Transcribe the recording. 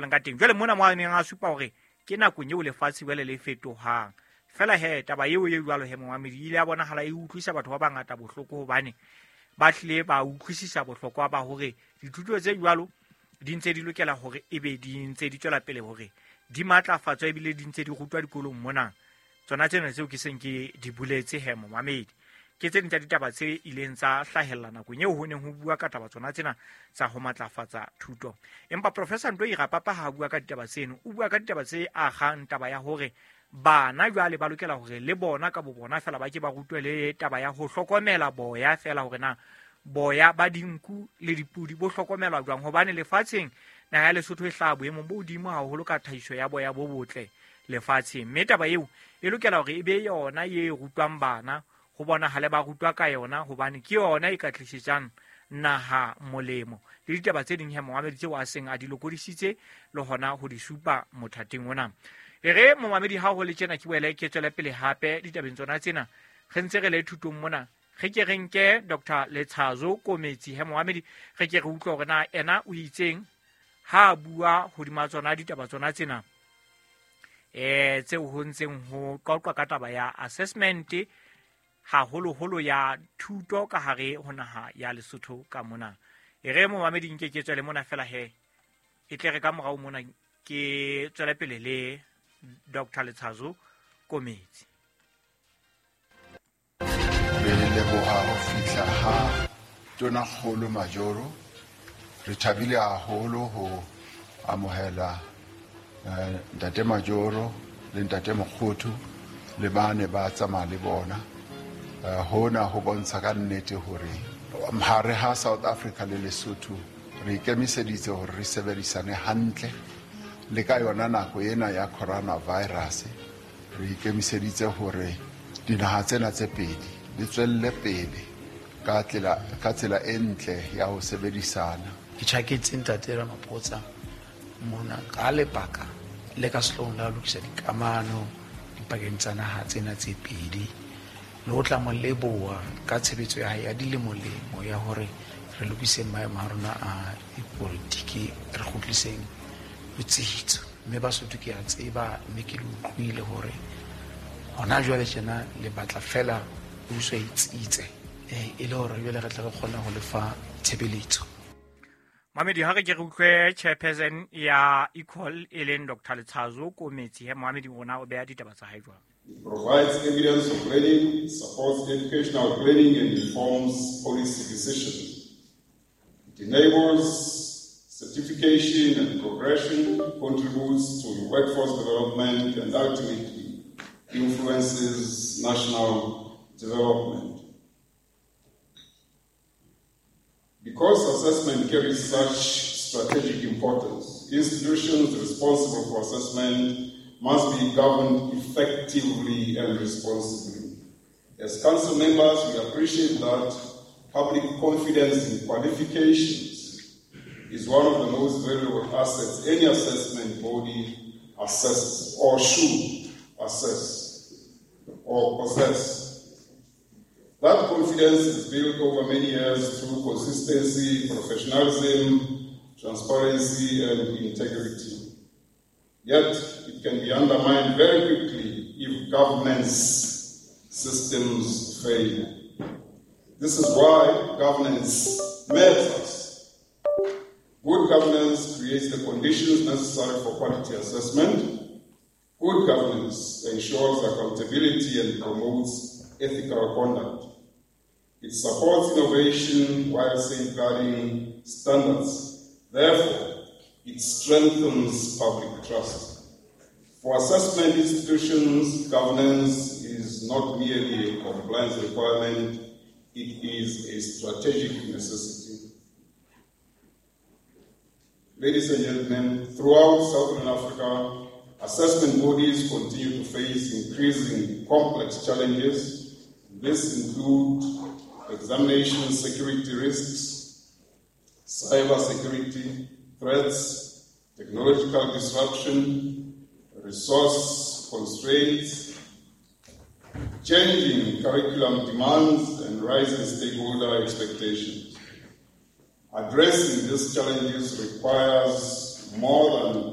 Leng ka teng jwale mona mo a neng a supa hore ke nakong eo lefatshe jwale le fetohang fela he taba eo e jwalo he momamedi ile ya bonahala e utlwisa batho ba bangata bohloko hobane ba hlile ba utlwisisa bohlokwa ba hore dithuto tse jwalo di ntse di lokela hore ebe di ntse di tswela pele hore di matlafatswa ebile di ntse di rutwa dikolong mona. Tsona tsena tseo ke seng ke di boletse he momamedi ke tse ding tsa ditaba tse ileng tsa hlahella nakong eo ho neng ho bua ka taba tsona tsena tsa ho matlafatsa thuto. Empa Professor Ntoi Rapapa ha a bua ka ditaba tseno, o bua ka ditaba tse agang taba ya hore bana jwale ba lokela hore le bona ka bo bona fela ba ke ba rutwe le taba ya ho hlokomela boya fela hore na boya ba dinku le dipudi bo hlokomelwa jwang, hobane lefatsheng naha ya Lesotho e hlaha boemong bo hodimo haholo ka tlhahiso ya boya bo botle lefatsheng. Mme taba eo e lokela hore e be yona e rutwang bana, ho bonahale ba rutwa ka yona hobane ke yona e ka tlisetsang naha molemo. Le ditaba tse ding he momamedi tseo a seng a di lokodisitse le hona ho di supa mothateng ona. E re momamedi ha ho le tjena ke boele ke tswele pele hape ditabeng tsona tsena re ntse re le thutong mona. Re ke re nke Dr. Letshazo Kometsi he momamedi re ke re utlwe hore na ena o itseng ha a bua hodima tsona ditaba tsona tsena tseo ho ntseng ho qoqwa ka taba ya assessment haholoholo ya thuto ka hare ho naha ya Lesotho ka mona. E re momamedi nke ke tswele mona fela he e tle re ka morao mona ke tswele pele le Dr. Letshazo Kometsi. Re leboha ho fihla ha Tonakgolo Majoro. Re thabile haholo ho amohela Ntate Majoro le Ntate Mokgothu le bane ba tsamaya le bona. Hona ho bontsha ka nnete hore hare ha South Africa le Lesotho re ikemiseditse hore re sebedisane hantle le ka yona nako ena ya coronavirus. Re ikemiseditse hore dinaha tsena tse pedi di tswelle pele ka tsela e ntle ya ho sebedisana. Ke tjhaketse Ntate Ramaphosa mona ka lebaka le ka sehloohong la ho lokisa dikamano dipakeng tsa naha tsena tse pedi le ho tla mo leboha ka tshebetso ya hae ya dilemolemo ya hore re lokiseng maemo a rona a dipolitiki, re kgutliseng botsitso. Mme Basotho ke a tseba mme ke le utlwile hore hona jwale tjena le batla fela puso e tsitse e le hore jwale re tle re kgone ho lefa tshebeletso. Mamedi ha re ke re utlwe chairperson ya Equal e leng Dr. Letshazo Kometsi he Mohamedi rona o beha ditaba tsa hae jwang. It provides evidence of learning, supports educational planning and informs policy decisions. It enables certification and progression, contributes to workforce development and ultimately influences national development. Because assessment carries such strategic importance, institutions responsible for assessment must be governed effectively and responsibly. As council members, we appreciate that public confidence in qualifications is one of the most valuable assets any assessment body assesses or should assess or possess. That confidence is built over many years through consistency, professionalism, transparency, and integrity. Yet, it can be undermined very quickly if governance systems fail. This is why governance matters. Good governance creates the conditions necessary for quality assessment. Good governance ensures accountability and promotes ethical conduct. It supports innovation while safeguarding standards. Therefore, it strengthens public trust. For assessment institutions, governance is not merely a compliance requirement, it is a strategic necessity. Ladies and gentlemen, throughout Southern Africa, assessment bodies continue to face increasing complex challenges. This includes examination security risks, cyber security threats, technological disruption, resource constraints, changing curriculum demands, and rising stakeholder expectations. Addressing these challenges requires more than